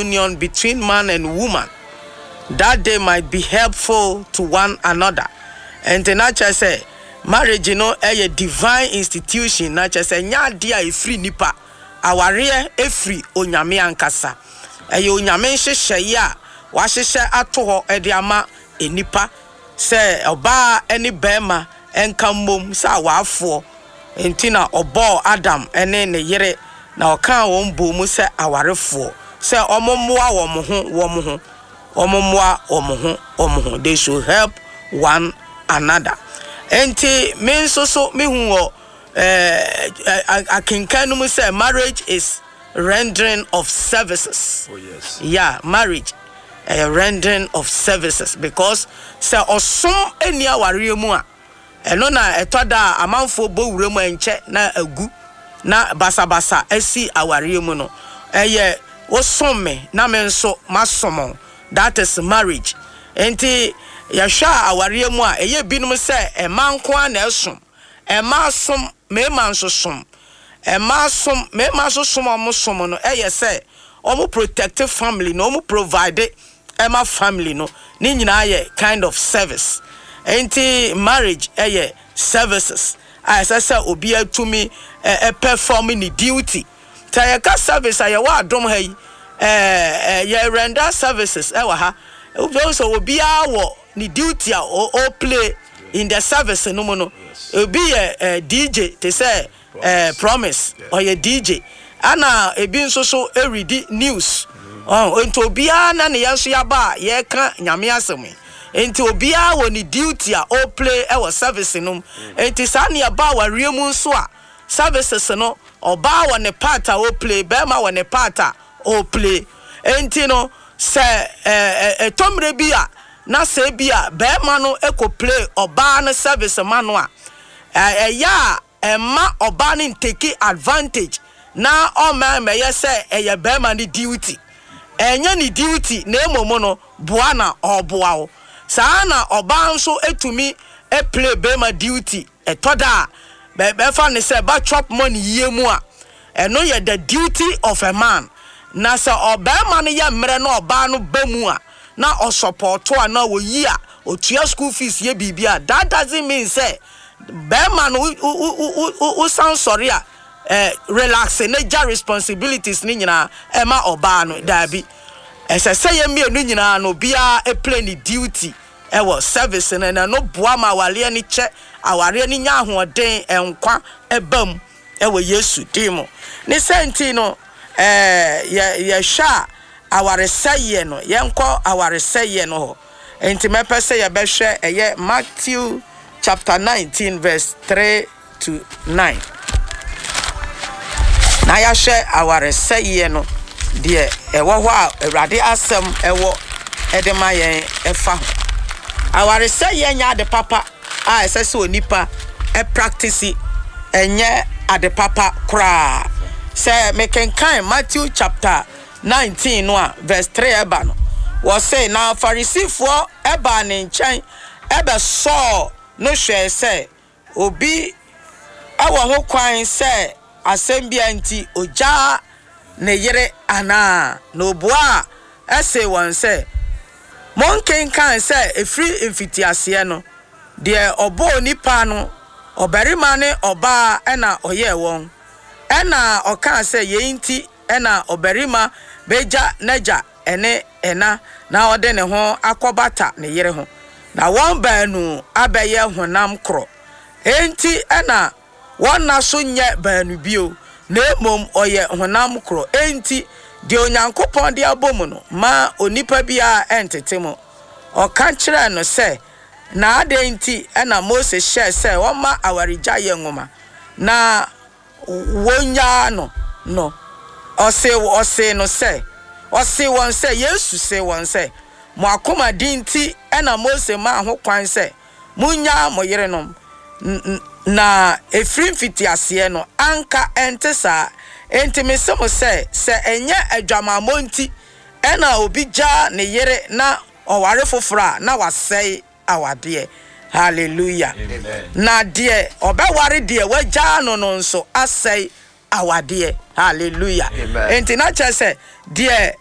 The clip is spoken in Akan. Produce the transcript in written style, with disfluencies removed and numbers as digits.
union between man and woman that they might be helpful to one another. Nti na kyerɛ sɛ marriage no yɛ divine institution na kyerɛ sɛ ɛnyɛ adeɛ a ɛfiri nipa. Awareɛ firi Onyame ankasa. Ɛyɛ Onyame nhyehyɛeɛ a wahyehyɛ ato hɔ de ama nnipa sɛ ɔbaa ne barima nka mmom sɛ awaafoɔ. Nti na ɔbɔɔ Adam ne ne yere na ɔkaa wɔn bɔɔ mu sɛ awarefoɔ sɛ wɔmmoa wɔn ho wɔn ho, wɔmmoa wɔn ho wɔn ho, they should help one another. Nti me nso so mehu wɔ eh, akenkan no mu sɛ marriage is rendering of services. Oh, yes. Yeah, marriage ɛyɛ rendering of services because sɛ ɔsom nni awareɛ mu a, ɛno na ɛtɔ da a amanfoɔ bɔ wura mu ɛnkyɛ na agu na basabasa asi awareɛ mu no. Ɛyɛ wosom me na me nso masom wo. That is marriage. Nti yɛhwɛ a awareɛ mu a ɛyɛ binom sɛ mmaa nko ara na ɛsom. Mmaa som, mmarima nso som. Mmaa som, mmarima nso som a wɔn som no yɛ sɛ wɔn protect family no, wɔn provide ma family no. Ne nyinaa yɛ kind of service. Nti marriage yɛ services a ɛsɛ sɛ obiara tumi perform ne duty. Sɛ yɛka service a yɛwɔ adom ha yi, ɛɛ yɛ render services ɛwɔ ha. Wobɛhu sɛ obiara wɔ ne duty a o play in the service no mu no. Obi yɛ eh, DJ te sɛ eh, Promise, ɔyɛ DJ. Ɛna ebi nso so redi news. Ɔn, nti obiara na ne yɛn nso yɛaba a yɛreka Nyame asɛm yi. Nti obiara wɔ ne duty a o play ɛwɔ service no mu. Nti saa ne ɛba awareɛ mu nso a, Services no ɔbaa wɔ ne part a ɔplay, barima wɔ ne part a ɔplay. Enti no sɛ ɛtɔ mmerɛ bi a na sɛ ebi a barima no kɔ play ɔbaa no service ma no a, ɛyɛ a ɛmma ɔbaa no ntake advantage na ɔmma ɛmmɛyɛ sɛ ɛyɛ barima no duty. Ɛnyɛ ne duty na mmom no boa na ɔreboa wo. Saa ara na ɔbaa nso tumi play barima duty. Ɛtɔ da a, bɛfa no sɛ ba chop money yie mu a, ɛno yɛ the duty of a man. Na sɛ ɔbarima no yɛ mmerɛ na ɔbaa no ba mu a, na ɔsɔpɔɔto anaa ɔyi a, ɔtua school fees yɛ biribi a, that doesn't mean sɛ barima no wo san sɔre a, eh, relax na gya responsibilities no nyinaa ɛma ɔbaa no. Daabi. Ɛsɛ sɛ yɛn mmienu nyinaa no, obiara play ne duty. wɔ service no na ɛno boa ma awareɛ no kyɛ, awareɛ no nya ahoɔden, nkwa ba mu wɔ Yesu din mu. Ne sɛ nti no, yɛ yɛhwɛ a awaresɛeɛ no, yɛnkɔ awaresɛeɛ no hɔ. Nti mɛpɛ sɛ yɛbɛhwɛ ɛyɛ Matthew chapter 19 verse 3 to 9. Na yɛahwɛ awaresɛeɛ no deɛ ɛwɔ hɔ a Awurade asɛm ɛwɔ ɛde ma yɛn ɛfa ho. Awaresɛeɛ nyɛ ade papa a ɛsɛ sɛ onipa ɛpraktisi, ɛnyɛ ade papa koraa. Sɛ mekenkan Matthew chapter 19 no a verse 3 ɛba no, wɔse na Farisifoɔ ɛbaa ne nkyɛn ɛbɛsɔɔ no hwɛɛ sɛ Obi wɔ ho kwan sɛ asɛm biara nti ogyaa ne yere anaa? Na obuaa see wɔn sɛ, Monkenkan sɛ ɛfiri mfitiaseɛ no, deɛ ɔbɔɔ onipa no, ɔbarima ne ɔbaa na ɔyɛɛ wɔn? Ɛnna ɔkaa sɛ, Yei nti na ɔbarima bɛgya n'agya ne ɛna na ɔde ne ho akɔbata ne yere ho, na wɔn baanu abɛyɛ honam korɔ. Enti na wɔnna so nyɛ baanu bio, na mmom wɔyɛ honam korɔ. Enti deɛ Onyankopɔn de abɔ mu no, mma onipa biara nntete mu. Ɔka kyerɛɛ no sɛ, Na adɛn nti na Mose hyɛɛ sɛ wɔmma awaregyaeɛ nwoma, na wonnyaa no no, ɔsee ɔsee no sɛ, ɔsee wɔn sɛ, Yesu see wɔn sɛ, Mo akoma den nti na Mose maa ho kwan sɛ munnyaa mo yerenom, na ɛfiri mfitiaseɛ no, anka ɛnte saa. Enti mese mo sɛ, sɛ ɛnyɛ adwamammɔ nti na obi gyaa ne yere na ɔware foforɔ a, na wasɛe awadeɛ. Hallelujah. Na deɛ ɔbɛware deɛ wagyaa no no nso asɛe awadeɛ. Hallelujah. Enti na kyerɛ sɛ deɛ.